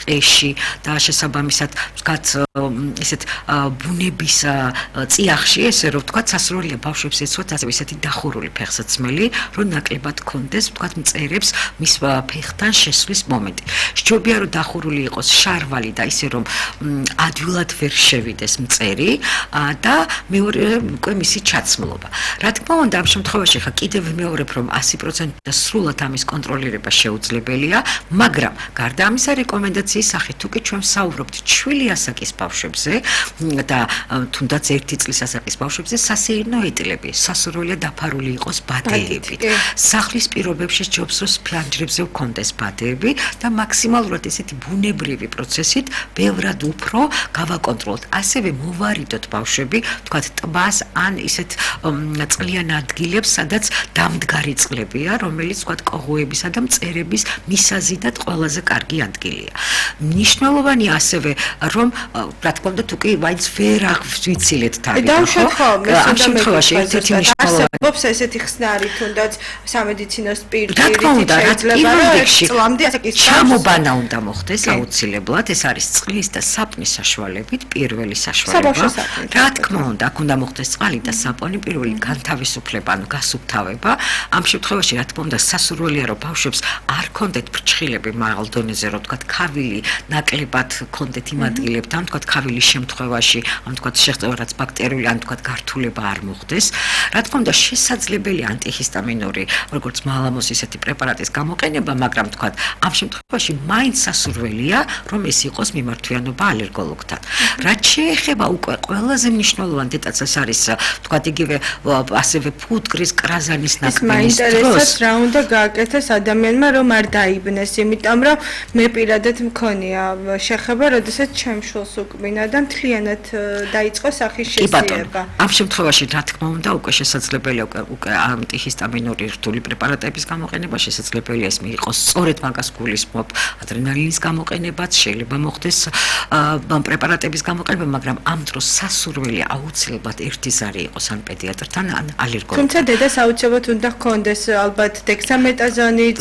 ტყეში და შესაბამისად ვთქვათ ისეთ ბუნების წიაღში ესე რომ ვთქვათ სასურველია ბავშვებს ეცვათ ასევე ისეთი დახურული ფეხსაცმელი რომ ნაკლებად კონდეს ვთქვათ მწერებს მის ფეხთან შესვლის მომენტი სჯობია რომ დახურული იყოს შარვალი და ისე რომ ადვილად ვერ შევიდეს მწერი და მეორე უკვე მისი ჩაცმულობა რა თქმა უნდა ამ შემთხვევაში ხა კიდევ მეორებ რომ 100% და სრულად ამის კონტროლირება შეუძლებელია მაგრამ გარდა ამისა რეკომენდაციის სახით თუ კი ჩვენ საუბრობთ ჩვილი ასაკის ბავშვებზე და თუნდაც 1 წლის ასაკის ბავშვებზე სასეირნო ეტლები სასურველია დაფარული იყოს ბადეებით სახლის პირობებში ჯობს რომ ფლანჯრებზე ვქონდეს ბადეები და მაქსიმალურად ესეთი ბუნებრივი პროცესით ბევრად უფრო გავაკონტროლოთ ასევე მოვარიდოთ ბავშვები თქვათ ტბას ან ისეთ წყლიან ადგილებს სადაც დამდგარი წყლებია რომელიც თქვათ კოღოებისა და მწერების მისაზიდად ყველაზე კარგი ადგილია მნიშვნელოვანია ასევე რომ რა თქმა უნდა თუ კი ვაიც ვერ აღვიცილეთ თავი ამ შემთხვევაში ერთ-ერთი მნიშვნელოვანი არსებობს ესეთი ხსნარი თუნდაც სამედიცინო პირდაპირით შეიძლება რომ ჩამობანა უნდა მოხდეს აუცილებლად ეს არის წყლის და საპნის საშუალებით პირველი საშუალება რა თქმა უნდა აქ უნდა მოხდეს წყალი და საპონი პირველი განთავისუფლება ანუ გასუფთავება ამ შემთხვევაში რა თქმა უნდა სასურველია რომ ბავშვებს არ კონდეთ ფრჩხილები მაღალ დონეზე რომ თქვათ ქავილი ნაკლებად კონდეთ იმ ადგილებთან თქვათ ქავილის შემთხვევაში ან თქვათ შეღწევა რაც ბაქტერიული ან თქვათ გართულება არ მოხდეს რა თქმა უნდა შესაძლებელია ანტიჰისტამინური როგორც მალამოს ისეთი პრეპარატის გამოყენება მაგრამ თქვათ ამ შემთხვევაში მაინც სასურველია რომ ეს იყოს მიმართვიანობა ალერგოლოგთან რაც შეეხება უკვე ყველაზე მნიშვნელოვანი დეტალს არის თქვათ იგივე ასევე ფუტკრის კრაზანის ნაკბენის დროს რა უნდა გააკეთეს ადამიანმა რომ არ დაიბნეს იმიტომ რომ მე პირადად მქონია შეხება როდესაც ჩემ შულს უკმინა და მთლიანად დაიწყო სახის შესიება ამ შემთხვევაში რა თქმა უნდა უკვე შესაძლებელია უკვე ანტიჰისტამინური რთული პრეპარატების გამოყენება შესაძლებელია ეს მიიღოს სწორედ მაგას გულისხმობ ადრენალინის გამოყენებაც შეიძლება მოხდეს პრეპარატების გამოყენება მაგრამ ამ დროს სასურველია აუცილებლად ერთი ზარი იყოს ან პედიატრთან ან ალერგოლოგთან თუმცა დედას აუცილებლად უნდა ჰქონდეს ალბათ დექსამეტაზონიც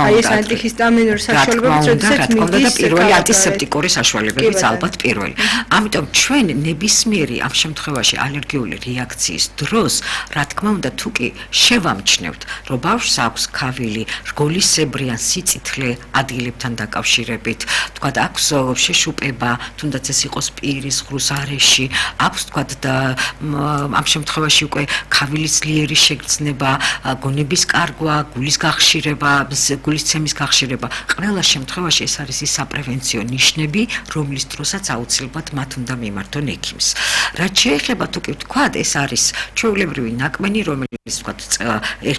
აი ეს ანტიჰისტამინური საშუალებებიც როდესაც მიდის პირველი ანტისეპტიკური საშუალებებიც ალბათ პირველი ამიტომ ჩვენ ნებისმიერი ამ შემთხვევაში ალერგიული რეაქციის დროს რა თქმა უნდა თუ კი შევამჩნევთ რომ ბავშვს აქვს ქავილი რგოლისებრი ან სიწითლე ადგილებთან დაკავშირებით თქვათ აქვს შეშუპება თუნდაც ეს იყოს პირის ღრუს არეში აქვს თქვათ და ამ შემთხვევაში უკვე ქავილის ძლიერი შეგრძნება გონების კარგვა გულის გახშირება გულისცემის გახშირება ყველა შემთხვევაში ეს არის ის საპრევენციო ნიშნები რომლის დროსაც აუცილებლად მათ უნდა მიმართონ ექიმს რაც შეეხება თუ კი ვთქვათ ეს არის ჩვეულებრივი ნაკმენი რომელიც ვთქვათ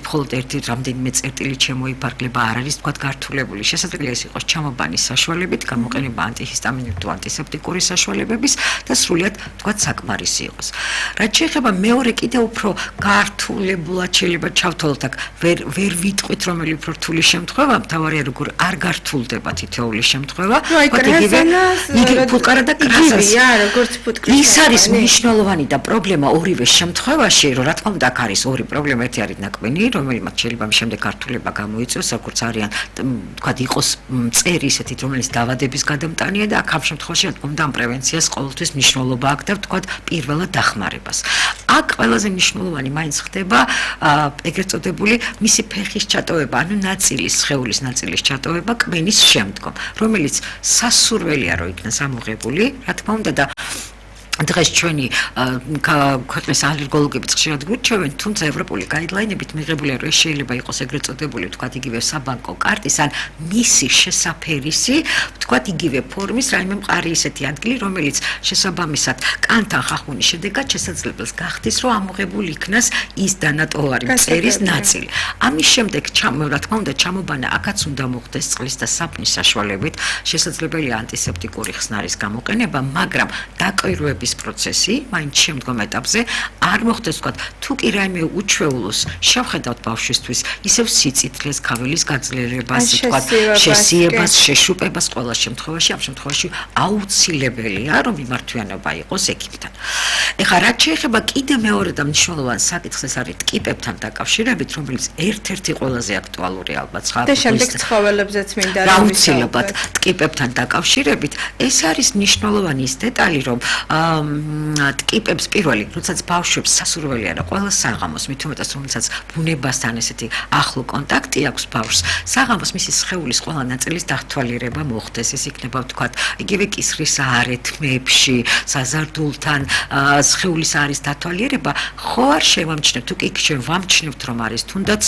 მხოლოდ ერთი რამდენიმე წერტილი შემოიფარგლება არ არის ვთქვათ გართულებული შესაძლებელია ეს იყოს ჩამობანის საშუალებით გამოყენება ანტიჰისტამინური თუ ანტისეპტიკური საშუალებების და სრულიად ვთქვათ საკმარისი იყოს რაც შეეხება მეორე კიდევ უფრო გართულებულად შეიძლება ჩავთვალოთ აქ ვერ ვიტყვით რომელი უფრო რთული შემთხვევა მთავარია როგორ არ გართულდება თითოეული შემთხვევა იგივე ფუტკარა და კრაზასია როგორც ფუტკრის ის არის მნიშვნელოვანი და პრობლემა ორივე შემთხვევაში რომ რა თქმა უნდა აქ არის ორი პრობლემა ერთი არის ნაკმენი რომელმაც შეიძლება შემდეგ გართულება გამოიწვიოს როგორც არიან თქვათ იყოს მწერი ისეთით რომელიც დაავადების გადამტანია და აქ ამ შემთხვევაში რა თქმა უნდა ამ პრევენციას ყოველთვის მნიშვნელობა აქვს და თქვათ პირველად დახმარებას აქ ყველაზე მნიშვნელოვანი მაინც ხდება ეგრეთ წოდებული მისი ფეხის ჩატოვება ანუ ნაწილის სხეულის ნაწილის ჩატოვება კმენის შემდგომ რომელიც სასურველია რომ იქნას ამოღებული რა თქმა უნდა და დღეს ჩვენი ქვეყნის ალერგოლოგები ხშირად გვირჩევენ, თუმცა ევროპული გაიდლაინებით მიღებულია, რომ ეს შეიძლება იყოს ეგრეთ წოდებული, ვთქვათ, იგივე საბანკო კარტის ან მისი შესაფერისი, ვთქვათ, იგივე ფორმის რაიმე მყარი ისეთი ადგილი, რომელიც შესაბამისად კანთან ხახუნის შედეგად შესაძლებელს გახდის, რომ ამოღებული იქნას ის დანატოვარი მწერის ნაწილი. ამის შემდეგ, რა თქმა უნდა, ჩამობანა აქაც უნდა მოხდეს წყლის და საპნის საშუალებით, შესაძლებელია ანტისეპტიკური ხსნარის გამოყენება, მაგრამ დაკვირვების პროცესი, მაინც შემდგომ ეტაპზე არ მოხდეს, ვთქვათ, თუ კი რაიმე უჩვეულოს შევხედავთ ბავშვისთვის, ისევ სიწითლეს, ქავილის გაძლიერებას, ვთქვათ, შესიებას, შეშუპებას, ყველა ყოველ შემთხვევაში ამ შემთხვევაში აუცილებელია რომ მიმართვიანობა იყოს ექიმთან. ეხლა რაც შეეხება კიდე მეორე და მნიშვნელოვანი საკითხს ეს არის ტკიპებთან დაკავშირებით, რომელიც ერთ-ერთი ყველაზე აქტუალური ალბათ და შემდეგ ცხოველებზეც მინდა რა აუცილებლად ტკიპებთან დაკავშირებით ეს არის მნიშვნელოვანი ის დეტალი რომ ტკიპებს პირველი როდესაც ბავშვებს სასურველი არა ყველა საღამოს მით უმეტეს რომელსაც ბუნებასთან ესეთი ახლო კონტაქტი აქვს ბავშვს საღამოს მისი სხეულის ყველა ნაწილის დათვალიერება მოხდეს ეს იქნება ვთქვათ იგივე კისრის არეთმებში საზარდულთან სხეულის არის დათვალიერება ხო არ შევამჩნევთ თუ კი ჩვენ ვამჩნევთ რომ არის თუნდაც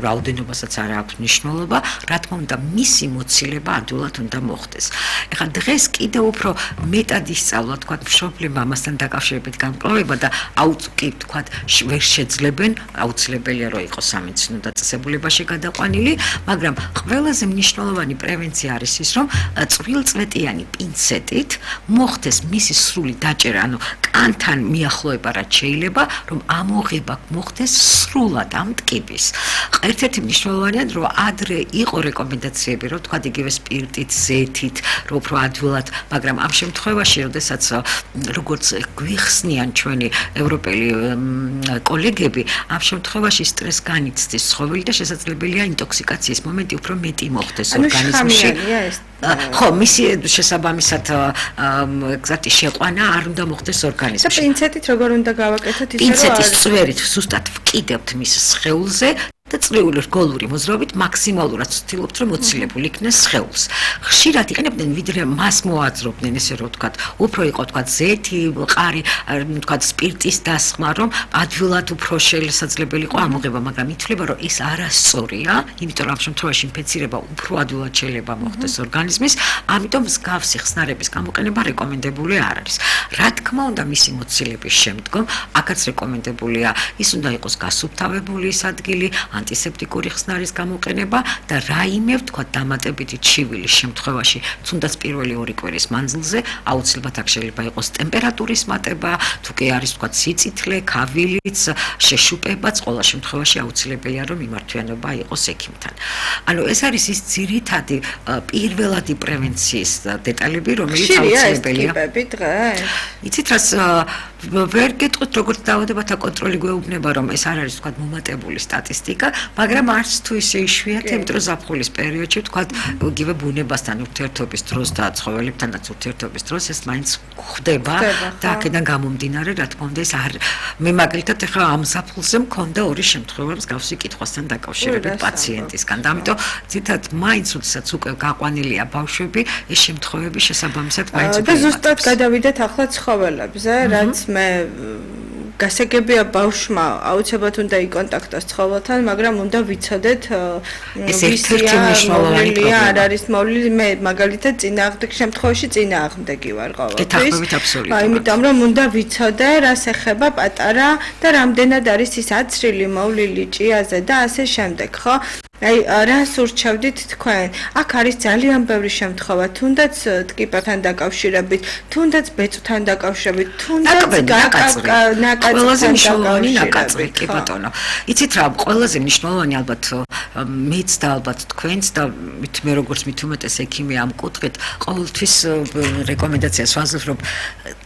რაოდენობასაც არ აქვს მნიშვნელობა რა თქმა უნდა მისი მოცილება ადვილად უნდა მოხდეს ეხლა დღეს კიდევ უფრო მეტად ისწავლა თქვა მშობლებმა ამასთან დაკავშირებით გამკლავება და აუწკი თქვა ვერ შეძლებენ აუცილებელია რომ იყოს სამედიცინო დაწესებულებაში გადაყვანილი მაგრამ ყველაზე მნიშვნელოვანი პრევენცია არის ის რომ წვრილწლეტიანი პინცეტით მოხდეს მისი სრული დაჭერა ანუ კანთან მიახლოება რაც შეიძლება რომ ამოღება მოხდეს სრულად ამ ტკიპის ერთ-ერთი მნიშვნელოვანია რომ ადრე იყო რეკომენდაციები რომ თქვა იგივე სპირტით ზეთით რომ უფრო ადვილად მაგრამ ამ შემთხვევაში როდესაც როგორც გვიხსნიან ჩვენი ევროპელი კოლეგები ამ შემთხვევაში სტრეს განიცდის ცხოველი და შესაძლებელია ინტოქსიკაციის მომენტი უფრო მეტი მოხდეს ორგანიზმში ხო მისი შესაბამისად ეგზაქტი შეყვანა არ უნდა მოხდეს ორგანიზმში და პინცეტით როგორ უნდა გავაკეთოთ ისე რომ პინცეტის წვერით ზუსტად ვკიდებთ მის სხეულზე და წრიული რგოლური მოძრაობით მაქსიმალურად ვცდილობთ რომ მოცილებული იქნეს სხეულს. ხშირად იყენებდნენ ვიდრე მას მოაძრობდნენ ესე რომ ვთქვათ, უფრო იყო ვთქვათ ზეთი, მყარი, ვთქვათ სპირტის დასხმა რომ ადვილად უფრო შესაძლებელი იყო ამოღება, მაგრამ ითვლება რომ ეს არასწორია, იმიტომ რომ ამ შემთხვევაში ინფექცირება უფრო ადვილად შეიძლება მოხდეს ორგანიზმის, ამიტომ მსგავსი ხსნარების გამოყენება რეკომენდებული არ არის. რა თქმა უნდა მისი მოცილების შემდგომ აქაც რეკომენდებულია ის უნდა იყოს გასუფთავებული ის ადგილი ანტისეპტიკური ხსნარის გამოყენება და რაიმე ვთქვათ დამატებითი ჩივილის შემთხვევაში თუნდაც პირველი 2 კვირის მანძილზე აუცილებლად აქ შეიძლება იყოს ტემპერატურის მატება თუ კი არის ვთქვათ სიწითლე, ქავილიც, შეშუპებაც ყველა შემთხვევაში აუცილებელია რომ მიმართვიანობა იყოს ექიმთან. ანუ ეს არის ის ძირითადი პირველადი პრევენციის დეტალები რომელიც აუცილებელია. იცით რას ვერ გეტყვით როგორც დაავადებათა კონტროლი გვეუბნება რომ ეს არ არის ვთქვათ მომატებული სტატისტიკა მაგრამ არც თუ ისე იშვიათია იმიტომ რომ ზაფხულის პერიოდში ვთქვათ იგივე ბუნებასთან ურთიერთობის დროს და ცხოველებთანაც ურთიერთობის დროს ეს მაინც ხდება და აქედან გამომდინარე რა თქმა უნდა ეს არ მე მაგალითად ახლა ამ ზაფხულზე მქონდა 2 შემთხვევა მსგავსი კითხვასთან დაკავშირებით პაციენტისგან და ამიტომ ძირითადად მაინც როდესაც უკვე გაყვანილია ბავშვები ეს შემთხვევები შესაბამისად მაინც და ზუსტად გადავიდეთ ახლა ცხოველებზე რაც მე გასაგებია ბავშვმა აუცილებლად უნდა იკონტაქტოს ცხოველთან, მაგრამ უნდა ვიცოდეთ ერთ-ერთი მნიშვნელოვანი პრობლემა არ არის მოვლილი მე მაგალითად წინააღმდეგ შემთხვევაში წინააღმდეგი ვარ ყოველთვის. იმიტომ რომ უნდა ვიცოდე რას ეხება პატარა და რამდენად არის ის აცრილი მოვლილი ჭიაზე და ასე შემდეგ, ხო? აი რას ურჩევდით თქვენ? აქ არის ძალიან ბევრი შემთხვევა, თუნდაც ტკიპებთან დაკავშირებით, თუნდაც ბეწვთან დაკავშირებით, თუნდაც ყველაზე მნიშვნელოვანი ნაკაწრი, კი ბატონო. იცით რა, ყველაზე მნიშვნელოვანი ალბათ მეც და ალბათ თქვენც და მე როგორც მით უმეტეს ექიმი ამ კუთხით ყოველთვის რეკომენდაციას ვაძლევ, რომ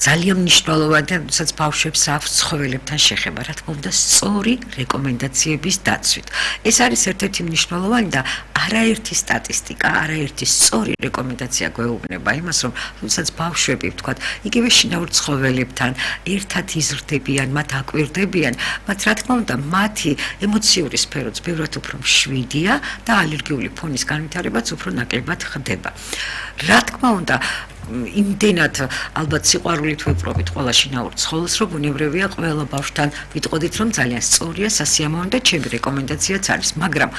ძალიან მნიშვნელოვანია, როდესაც ბავშვებს აქვს ცხოველებთან შეხება, რა თქმა უნდა, სწორი რეკომენდაციების დაცვით. ეს არის ერთ-ერთი მნიშვნელოვანი და არაერთი სტატისტიკა, არაერთი სწორი რეკომენდაცია გვეუბნება იმას, რომ თუნდაც ბავშვები, ვთქვათ, იგივე შინაურ ცხოველებთან ერთად იზრდებიან, მათ აკვირდებიან, მათ რა თქმა უნდა, მათი ემოციური სფეროც ბევრად უფრო მშვიდია და ალერგიული ფონის განვითარებაც უფრო ნაკლებად ხდება. რა თქმა უნდა, იმდენად ალბათ სიყვარულით ვეპყრობით ყველა შინაურ ცხოველს, რომ ბუნებრივია ყველა ბავშვთან ვიტყოდით, რომ ძალიან სწორია, სასიამოვნო და ჩემი რეკომენდაციაც არის, მაგრამ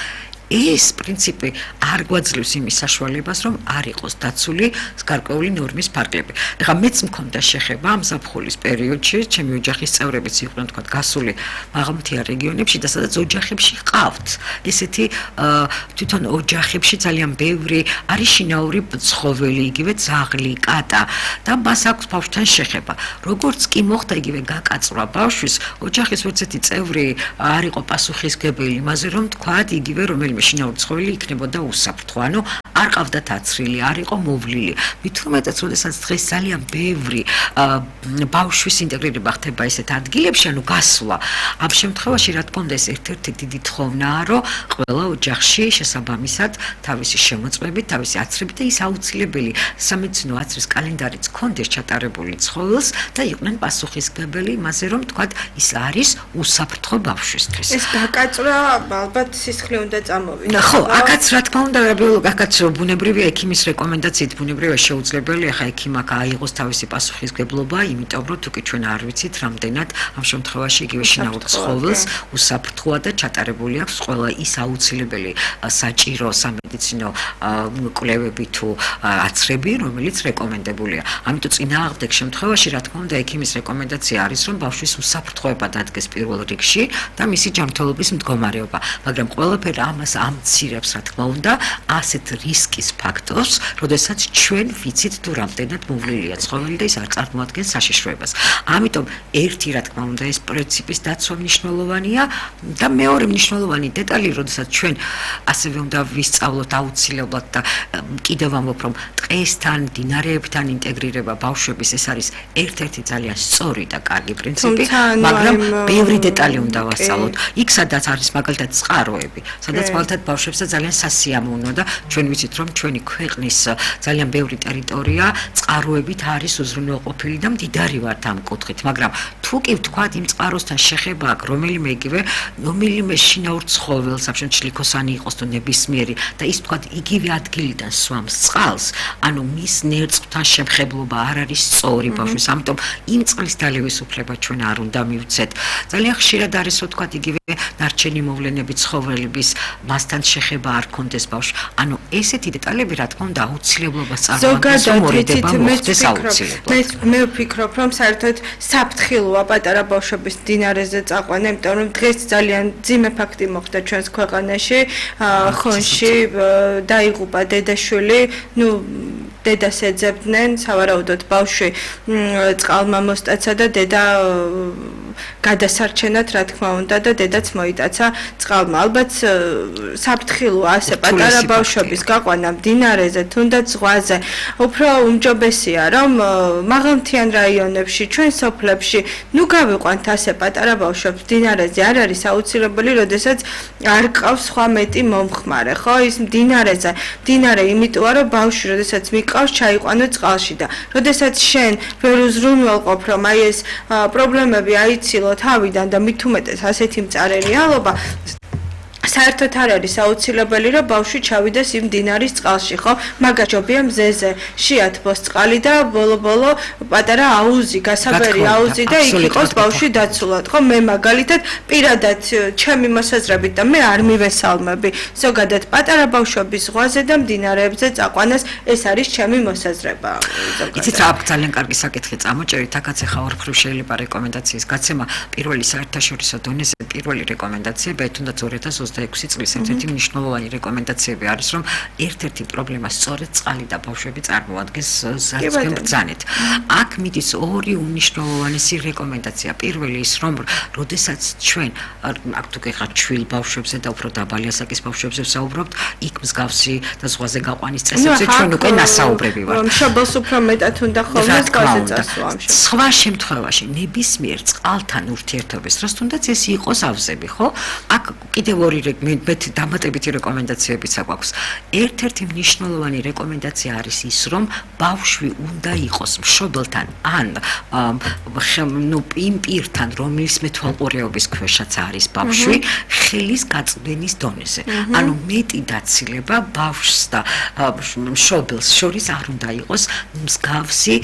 ეს პრინციპი არ გვაძლევს იმის საშუალებას, რომ არ იყოს დაცული გარკვეული ნორმის ფარგლები. ეხლა მეც მქონდა შეხება ამ ზაფხულის პერიოდში, ჩემი ოჯახის წევრებიც იყვნენ თქვა გასული მაღალმთიან რეგიონებში და სადაც ოჯახებში ყავთ. ესეთი თვითონ ოჯახებში ძალიან ბევრი არის შინაური ცხოველი, იგივე ძაღლი, კატა და მას აქვს ბავშვთან შეხება. როგორც კი მოხდა იგივე გაკაწვა ბავშვის, ოჯახის ერთ-ერთი წევრი არ იყო პასუხისმგებელი იმაზე, რომ თქვა იგივე რომელიმე შინაური ცხოველი იქნებოდა უსაფრთხო, ანუ არ ყავდათ აცრილი, არ იყო მოვლილი. მით უმეტეს, როდესაც დღეს ძალიან ბევრი ბავშვის ინტეგრირება ხდება ესეთ ადგილებში, ანუ გასვლა. ამ შემთხვევაში, რა თქმა უნდა, ეს ერთ-ერთი დიდი თხოვნაა, რომ ყველა ოჯახში შესაბამისად თავისი შემოწმებით, თავისი აცრებით და ის აუცილებელი სამედიცინო აცრის კალენდარიც ჰქონდეს ჩატარებული ცხოველს და იყვნენ პასუხისმგებელი იმაზე, რომ თქვათ, ის არის უსაფრთხო ბავშვისთვის. ეს გაკაცრა ალბათ სისხლი უნდა წამოვიდეს. ხო, აქაც რა თქმა უნდა, აქაც ბუნებრივია ექიმის რეკომენდაციით, ბუნებრივია შეუძლებელია ხა ექიმ აქ აიღოს თავისი პასუხისმგებლობა, იმიტომ რომ თუკი ჩვენ არ ვიცით, რამდენად ამ შემთხვევაში იგივე შინაურ ცხოველს უსაფრთხოა და ჩატარებული აქვს ყველა ის აუცილებელი საჭირო სამედიცინო კვლევები თუ აცრები, რომელიც რეკომენდებულია. ამიტომ წინააღმდეგ შემთხვევაში, რა თქმა უნდა, ექიმის რეკომენდაცია არის, რომ ბავშვის უსაფრთხოება დადგეს პირველ რიგში და მისი ჯანმრთელობის მდგომარეობა. მაგრამ ყველაფერი ამას ამცირებს, რა თქმა უნდა, ასეთ რისკის ფაქტორს, როდესაც ჩვენ ვიცით თუ რამდენად მოვლილია ცხოველი და ის არ წარმოადგენს საშიშროებას. ამიტომ ერთი, რა თქმა უნდა, ეს პრინციპის დაცვა მნიშვნელოვანია და მეორე მნიშვნელოვანი დეტალი, როდესაც ჩვენ ასევე უნდა ვისწავლოთ აუცილებლად და კიდევ ამბობ, რომ ტყესთან, მდინარეებთან ინტეგრირება ბავშვების ეს არის ერთ-ერთი ძალიან სწორი და კარგი პრინციპი, მაგრამ ბევრი დეტალი უნდა ვასწავლოთ. იქ სადაც არის მაგალითად წყაროები, სადაც მაგალითად ბავშვებსაც ძალიან სასიამოვნო და ჩვენ ვიცით, რომ ჩვენი ქვეყნის ძალიან ბევრი ტერიტორია წყაროებით არის უზრუნველყოფილი და მდიდარი ვართ ამ კუთხით, მაგრამ თუ კი ვთქვათ იმ წყაროსთან შეხება აქვს რომელიმე შინაურ ცხოველს, საფშენ ჩლიქოსანი იყოს თუ ნებისმიერი და ის ვთქვათ იგივე ადგილიდან სვამს წყალს, ანუ მის ნერწყვთან შემხებლობა არ არის სწორი ბავშვის, ამიტომ იმ წყლის დალევის უფლება ჩვენ არ უნდა მივცეთ. ძალიან ხშირად არის ვთქვათ იგივე ნარჩენი მოვლენები ცხოველების მასთან შეხება არ კონდეს ბავშვს. ანუ ესეთი დეტალები რა თქმა უნდა აუცილებლობას წარმოადგენს, რომ მორიდება მოხდეს აუცილებლად. მე ვფიქრობ, რომ საერთოდ საფრთხილოა პატარა ბავშვების მდინარეზე წაყვანა, იმიტომ რომ დღეს ძალიან ძიმე ფაქტი მოხდა ჩვენს ქვეყანაში, ხონში დაიღუპა დედაშვილი, დედას ეძებდნენ, სავარაუდოდ ბავშვი წყალმა მოსტაცა და დედა გადასარჩენად, რა თქმა უნდა, და დედაც მოიტაცა წყალმა. ალბათ საფრთხილოა ასე პატარა ბავშვების გაყვანა მდინარეზე, თუნდაც ზღვაზე. უფრო უმჯობესია, რომ მაღალმთიან რაიონებში, ჩვენ სოფლებში, გავიყვანთ ასე პატარა ბავშვებს მდინარეზე, არ არის აუცილებელი, როდესაც არ ყავს სხვა მეტი მომხმარე, ხო? ის მდინარე იმიტოა, რომ ბავშვი, როდესაც მიყავს, ჩაიყვანო წყალში და როდესაც შენ ვერ უზრუნველყოფ, რომ აი ეს პრობლემები აიცილო თავიდან და მით უმეტეს ასეთი მწარე რეალობა, საერთოდ არ არის აუცილებელი, რომ ბავშვი ჩავიდეს იმ მდინარის წყალში, ხო? მაგაჯობია მზეზე შეათბოს წყალი და ბოლო-ბოლო პატარა აუზი, გასაბერი აუზი და იქ იყოს ბავშვი დაცულად, ხო? მე მაგალითად პირადად ჩემი მოსაზრებით და მე არ მივესალმები ზოგადად პატარა ბავშვების ზღვაზე და მდინარეებზე წაყვანას, ეს არის ჩემი მოსაზრება. იცით რა, ძალიან კარგი საკითხი წამოჭერით, აქაც ახლა ორფრივ შეიძლება რეკომენდაციის გაცემა პირველი საერთაშორისო დონეზე პირველი რეკომენდაციები, თუნდაც 2026 წლის ერთ-ერთი მნიშვნელოვანი რეკომენდაციები არის, რომ ერთ-ერთი პრობლემა სწორედ წყალი და ბავშვები წარმოადგენს ზარცმენ ბრძანეთ. აქ მიდის ორი უმნიშვნელოვანესი რეკომენდაცია. პირველი ის, რომ როდესაც ჩვენ აქ თუ გეხართ ჩვილ ბავშვებზე და უფრო დაბალი ასაკის ბავშვებზე ვსაუბრობთ, იქ მსგავსი და ზღვაზე გაყვანის წესებზე ჩვენ უკვე ნასაუბრები ვართ. მშობელს უფრო მეტად უნდა ხოლმე ზღვაზე წასვლა. სხვა შემთხვევაში ნებისმიერ წყალთან ურთიერთობის დროს თუნდაც ეს იყოს ავზები, ხო? აქ კიდევ ორი დამატებითი რეკომენდაციებიც აქვს. ერთ-ერთი მნიშვნელოვანი რეკომენდაცია არის ის, რომ ბავშვი უნდა იყოს მშობელთან ან იმ პირთან, რომლის მეთვალყურეობის ქვეშაც არის ბავშვი, ხელის გაწვდენის დონეზე. ანუ მეტი დაცილება ბავშვს და მშობელს შორის არ უნდა იყოს მსგავსი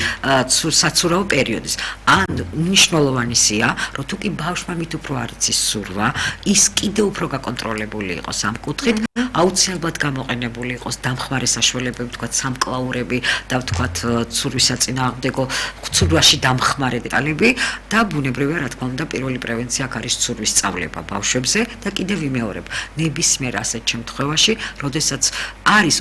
საცურაო პერიოდის. ან მნიშვნელოვანია, რომ თუ კი ბავშვმა მით უფრო არ იცის სურვა, ის კიდევ უფრო გაკონტროლებული იყოს ამ კუთხით, აუცილებლად გამოყენებული იყოს დამხმარე საშუალებები, ვთქვათ, სამკლაურები და ვთქვათ, ცურვის საწინააღმდეგო ცურვაში დამხმარე დეტალები და ბუნებრივია, რა თქმა უნდა, პირველი პრევენცია აქ არის ცურვის სწავლება ბავშვებზე და კიდევ ვიმეორებ, ნებისმიერ ასეთ შემთხვევაში, როდესაც არის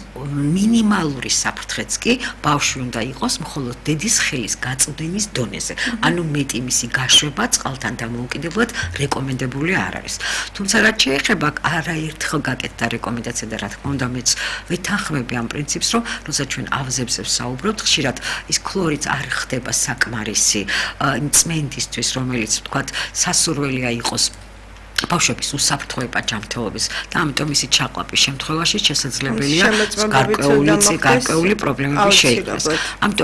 მინიმალური საფრთხეც კი, ბავშვი უნდა იყოს მხოლოდ დედის ხელის გაწვდენის დონეზე. ანუ მეტი მისი გაშვება წყალთან დამოუკიდებლად რეკომენდებული არ არის. თუმცა რაც შეეხება არაერთხელ გაკეთდა რეკომენდაცია და რა თქმა უნდა მეც ვითანხმები ამ პრინციპს, რომ როცა ჩვენ ავზებზე ვსაუბრობთ, ხშირად ის ქლორიდს არ ხდება საკმარისი იმ წმენდისთვის, რომელიც ვთქვათ, სასურველია იყოს ბავშვების უსაფრთხოება ჯანმრთელობის და ამიტომ ისი ჩაყლაპის შემთხვევაში შესაძლებელია გარკვეული პრობლემები შეიქმნას. ამიტომ